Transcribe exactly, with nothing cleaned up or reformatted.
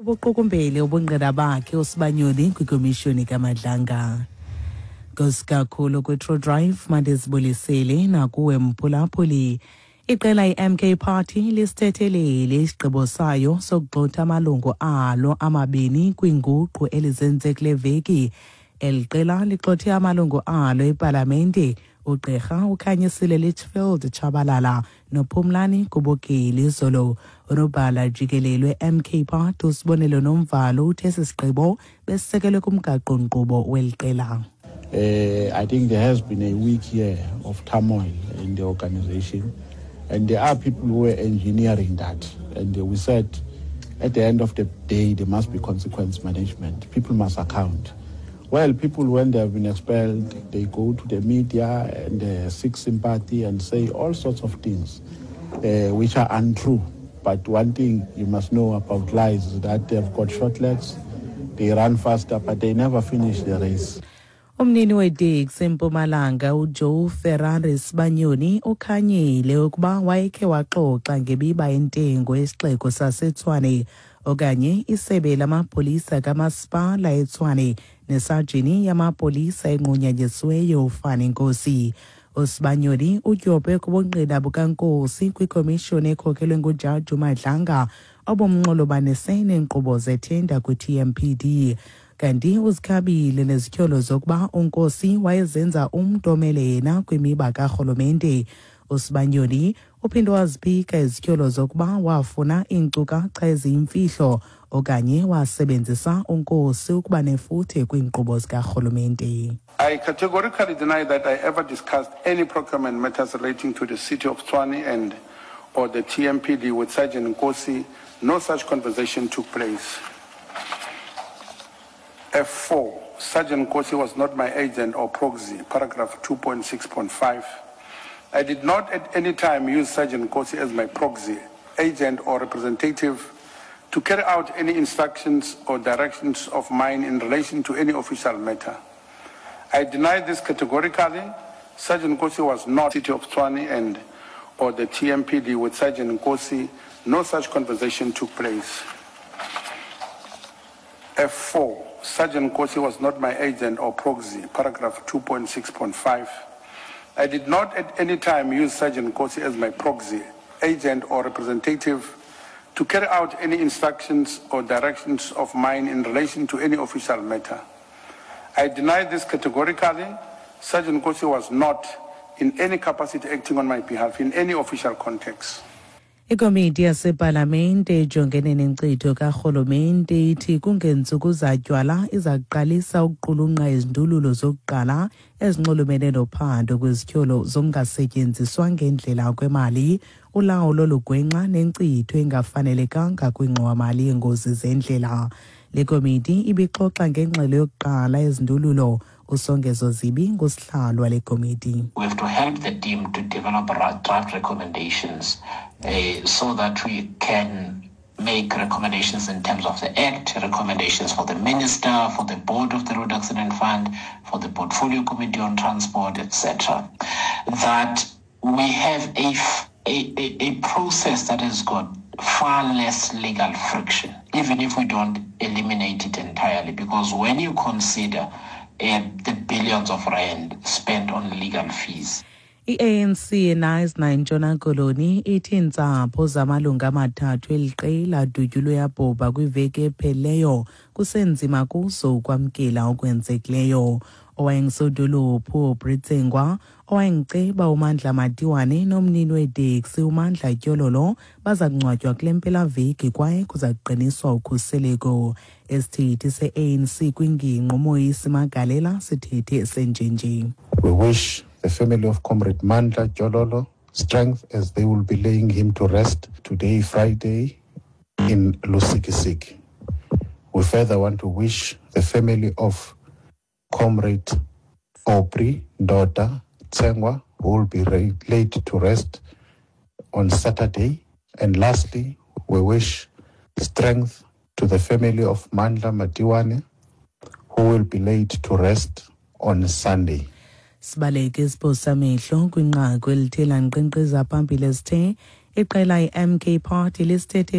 Ubuqukumbele ubungqina bakhe uSibanyoni kwikomishoni kaMadlanga. Nkosi kakhulu kwi-True Drive, mandizibulisele nakuwe mphulaphuli. Iqela i-M K Party lisithethelele isigqibo sayo sokugxotha amalungu alo amabini kwinguqu elizenze kule veki. Eli qela ligxothe amalungu alo epalamente ugqirha uKhanyisile Litchfield Tshabalala noPhumlani Kubokeli izolo. Unobhala jikelele we-M K Party uSibonelo Nomvalo uthe esi sigqibo besisekelwe kumgaqo-nkqubo weli qela. Uh, I think there has been a week here of turmoil in the organization, and there are people who were engineering that. And uh, we said at the end of the day, there must be consequence management. People must account. Well, people, when they have been expelled, they go to the media and uh, seek sympathy and say all sorts of things uh, which are untrue. But one thing you must know about lies is that they've got short legs, they run faster, but they never finish the race. Umnini weteksi eMpumalanga uJoe Ferrari Sibanyoni ukhanyile ukuba wayekhe waxoxa ngemiba yentengo yesixeko saseTshwane okanye isebe lamapolisa kamasipala eTshwane nesajini yamapolisa enqunyanyisiweyo uFani Nkosi. USibanyoni udyobhe kubungqina bukaNkosi kwikomishoni ekhokelwe ngujaji uMadlanga obumnxulumanise neenkqubo zethenda kwi-T M P D. Kanti uzikhabile nezityholo zokuba uNkosi wayezenza umntu omele yena kwimiba karhulumente. USibanyoni uphinde waziphika izityholo zokuba wafuna iinkcukacha eziyimfihlo okanye wasebenzisa uNkosi ukuba nefuthe kwiinkqubo zikarhulumente. I categorically deny that I ever discussed any procurement matters relating to the city of Tshwane and or the T M P D with Sergeant Nkosi. No such conversation took place. F four, Sergeant Nkosi was not my agent or proxy, paragraph two point six point five. I did not at any time use Sergeant Nkosi as my proxy, agent or representative to carry out any instructions or directions of mine in relation to any official matter. I deny this categorically. Sergeant Nkosi was not city of Tshwane and or the T M P D with Sergeant Nkosi. No such conversation took place. F four, Sergeant Nkosi was not my agent or proxy, paragraph two point six point five. I did not at any time use Sergeant Nkosi as my proxy, agent or representative to carry out any instructions or directions of mine in relation to any official matter. I deny this categorically. Sergeant Nkosi was not in any capacity acting on my behalf in any official context. Ikomiti yasepalamente ejongene nenkcitho karhulumente ithi kungentsuku zatywala iza kuqalisa ukuqulunqa izindululo zokuqala ezinxulumene nophando kwizityholo zokungasetyenziswa ngendlela kwemali, ulawulo olugwenxa nenkcitho engafanelekanga kwingxowamali yeengozi zendlela. Le komiti ibixoxa ngengxelo yokuqala yezindululo. USongezo Zibi ngusihlalo wale komiti. We have to help the team to develop draft recommendations uh, so that we can make recommendations in terms of the Act, recommendations for the Minister, for the board of the Road Accident Fund, for the Portfolio Committee on Transport, et cetera. That we have a, a, a process that has got far less legal friction, even if we don't eliminate it entirely, because when you consider uh, the billions of rand spent on legal fees. I-A N C eKnysna eNtshona Koloni ithi iintsapho zamalungu amathathu eli qela adutyulwe yabhubha kwiveki ephelileyo kusenzima kuzo ukwamkela okwenzekileyo. Owayengusodolophu uAubrey Tsengwa, owayengceba uMandla Matiwane nomnini weteksi uMandla Tyololo baza kungcwatywa kule mpelaveki kwaye kuza kuqiniswa ukhuseleko. Isithethi se-A N C kwingingqi uMoisi Magalela sithethe senjenje. We wish the family of Comrade Mandla Jololo strength as they will be laying him to rest today, Friday, in Lusikisiki. We further want to wish the family of Comrade Aubrey Ndoda Tsengwa, who will be laid to rest on Saturday. And lastly, we wish strength to the family of Mandla Matiwane, who will be laid to rest on Sunday. Sibaleke isiphosa amehlo kwinqaku elithe lanqenqeza phambili esithe iqela i-M K Party lisithethe